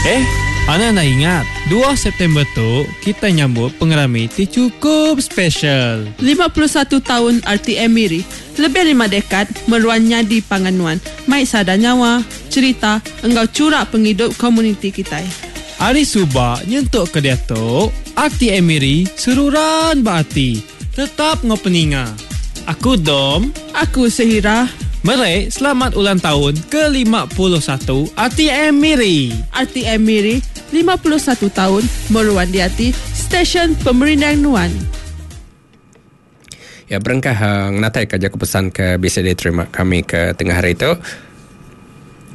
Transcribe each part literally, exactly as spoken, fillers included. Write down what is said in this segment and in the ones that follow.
Eh, Ana nak ingat, dua September tu kita nyambut pengerami ti cukup special. lima puluh satu tahun R T M Miri. Lebih lima dekad meruan nyadi panganuan. Mai sada nyawa, cerita, enggau curak penghidup komuniti kita. Hari Subak nyentuk ke dia tu, R T M Miri seruran berarti. Tetap ngopeninga. Aku Dom. Aku Sehira. Merek selamat ulang tahun ke lima puluh satu R T M Miri. R T M Miri lima puluh satu tahun meruan di hati stesen pemerindang Nuan. Ya, berengkah uh, ngatai kerja kepesan ke bisa diterima kami ke tengah hari itu.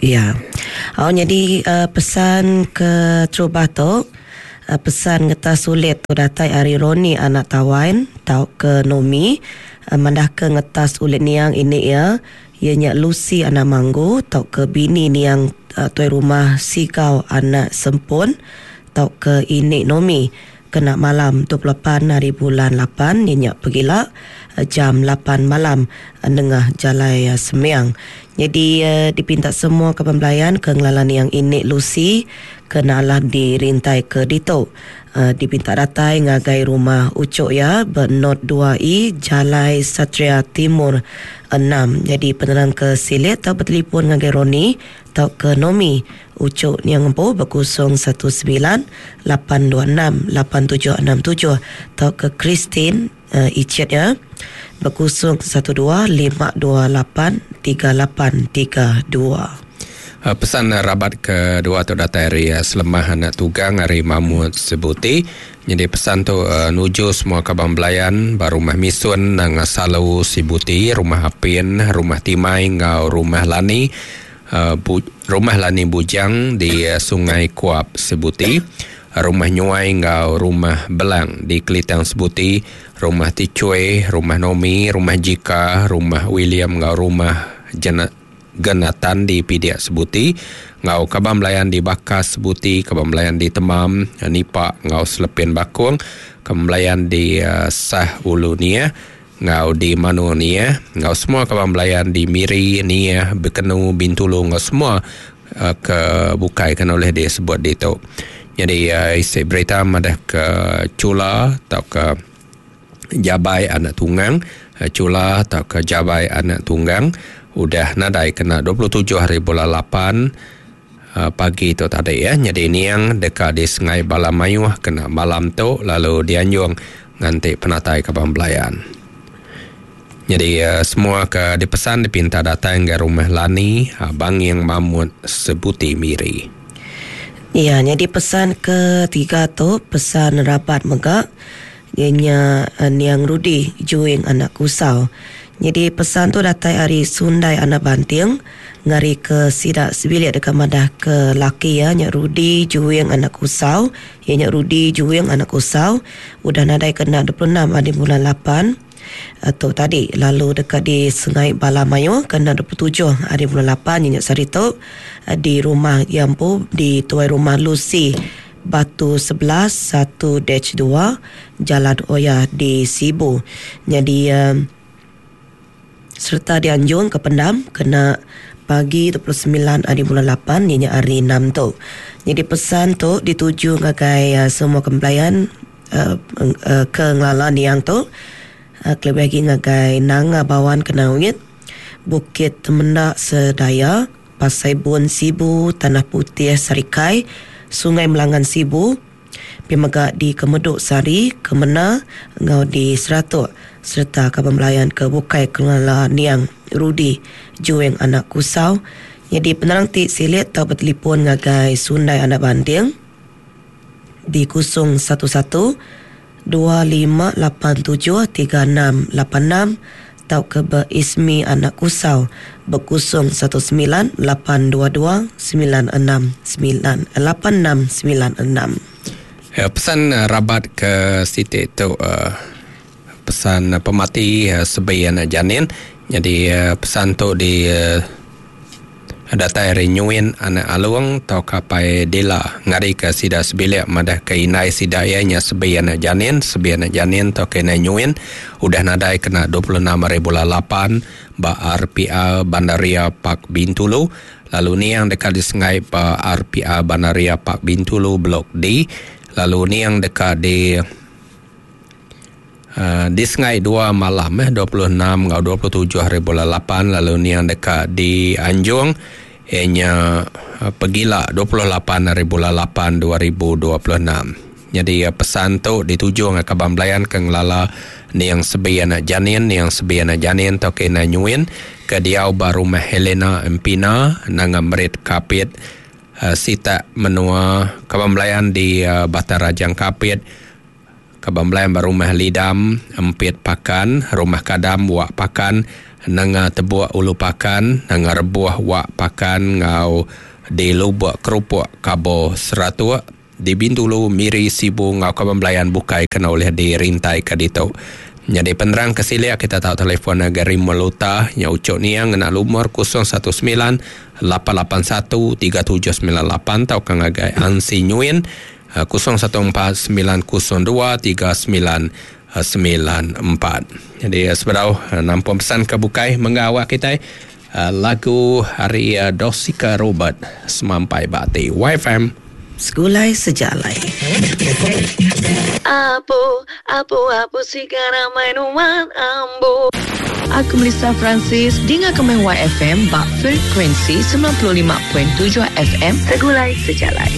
Ya. Oh, jadi uh, pesan ke terubah tu, uh, pesan ngeta sulit tu datai ari Roni anak Tawain tau ke Nomi, uh, mandah ke ngetas ulit niang ini ya. Ianya Lucy anak Manggu tau ke bini niang uh, tuai rumah Sigau anak Sempun tau ke ini Nomi kena malam dua puluh lapan hari bulan lapan ianya pergila uh, jam lapan malam uh, nengah jalai uh, Semiang. Jadi uh, dipinta semua ke pembelayan ke ngelalan yang ini Lucy kena lah dirintai ke Dito. Uh, dipinta datai ngagai rumah Ucok ya bernot dua I Jalai Satria Timur enam. Jadi penerang ke silit atau bertelefon ngagai Roni atau ke Nomi Ucok ni yang empu berkosong satu sembilan lapan dua enam lapan tujuh enam tujuh atau ke Christine, uh, Icet ya berkosong satu dua lima dua lapan tiga lapan tiga dua. Pesan rabat kedua tu datai hari Selemah anak tugang hari Mahmud Sebuti. Jadi pesan tu uh, nuju semua kabang belayan baru rumah Misun nang Salu Sibuti, rumah Apin, rumah Timai ngau rumah Lani, uh, bu, rumah Lani Bujang di uh, Sungai Kuap Sebuti, rumah Nyuai ngau rumah Belang di Kelitang Sebuti, rumah Ticui, rumah Nomi, rumah Jika, rumah William ngau rumah Jena Genatan di Pidiak Sebuti, ngau kabang belayan di Bakas Sebuti, kabang belayan di Temam, Nipak ngau Selepin Bakung, kabang belayan di uh, Sah Ulu Nia, ngau di Manu Nia, ngau semua kabang belayan di Miri Nia, Bekenu, Bintulu ngau semua uh, ke bukai kan oleh disebut di tu. Jadi uh, isi berita madah ke Cula atau ke Jabai anak tunggang, Cula atau ke Jabai anak tunggang udah nadai kena dua puluh tujuh hari bulan lapan uh, pagi tu tadi ya. Jadi niang dekat di Sungai Balamayuh kena malam tu lalu dianjung nganti penatai kabang belayan. Jadi uh, semua ke dipesan dipinta datang ke rumah Lani uh, Banging Mamut Sebuti Miri. Ya, jadi pesan ketiga tu pesan rabat megak ianya uh, niang Rudi Juing anak Kusau. Jadi pesan tu datai hari Sundai anak Banting ngari ke sidak sebilik dekat madah ke laki ya nyak Rudi Juing anak Kusau, ya nyak Rudi Juing anak Kusau udah nadai kena dua puluh enam hari bulan lapan atau tadi lalu dekat di Sungai Balamayo kena dua puluh tujuh hari bulan lapan nyak sari tu di rumah Yampu di tuai rumah Lucy Batu sebelas satu dash dua Jalan Oya di Sibu. Jadi um, serta dianjung ke pendam kena pagi dua puluh sembilan hari bulan lapan ianya hari enam tu. Jadi pesan tu dituju ngagai uh, semua kempelayan uh, uh, ke ngelalan yang tu uh, kelebih lagi ngagai Nanga Bawan Kenawit, Bukit Temendak Sedaya, Pasai Bun Sibu, Tanah Putih Sarikai, Sungai Melangan Sibu, Pimega di Kemeduk Sari, Kemena, ngau di Seratuk serta kaban belayan ke Bukai Kelala Niang Rudi Jueng anak Kusau. Jadi penerang ti silit tau bertelefon ngagai Sundai anak Banding di kosong satu satu dua lima lapan tujuh tiga enam lapan enam tau ke Ismi anak Kusau berkosong satu sembilan lapan dua dua sembilan enam sembilan lapan enam sembilan enam. Ya, pesan uh, rabat ke Siti tu uh, pesan uh, pemati uh, sebi anak janin. Jadi uh, pesan tu di uh, datai renyuin anak alung tau kapai dila ngari ke sida sebilik madah ke inai sida ianya sebi anak janin, sebi anak janin tau ke inai nyuin udah nadai kena dua puluh enam hari bulan lapan ba R P A Bandaria Pak Bintulu Lalu niang dekat di Sengai pa R P A Bandaria Pak Bintulu Blok D. Lalu niang dekat di uh, di Sengai dua malam eh dua puluh enam ngau dua puluh tujuh hari bulan lapan. Lalu niang dekat di Anjung ianya uh, Pegila dua puluh lapan hari bulan lapan dua ribu dua puluh enam. Jadi uh, pesan tu dituju ngau kaban belayan ke ngelala niang sebi anak janin, niang sebi anak janin tau ke ina nyuin ke diau ba rumah Helena Empina nanga merit kapit uh, sita menua kaban belayan di uh, Batang Rajang Kapit, kaban belayan ba rumah Lidam Empit Pakan, rumah Kadam Wak Pakan, nanga Tebuak Ulu Pakan, nanga Rebuah Wak Pakan ngau di Lubuk Kerupuk Kabo Seratuk di Bintulu Miri Sibu ngau kaban belayan bukai kena oleh dirintai ke ditu. Jadi penerang ke silia kita tahu telefon Gary Meluta nya ucuk niang ngena lumur kosong satu sembilan lapan lapan satu tiga tujuh sembilan lapan tau ke ngagai Ansi Nyuin kosong satu empat sembilan kosong dua tiga sembilan sembilan empat. Jadi seberau nampung pesan ke bukai mengawak kita lagu hari Dosika Robert Semampai Bakti Y F M Segulai Sejalai. Apu, apu, apu sigara mainuan ambu. Aku Melissa Francis, dengar komen Y F M bak frekuensi sembilan puluh lima perpuluhan tujuh F M Segulai Sejalai.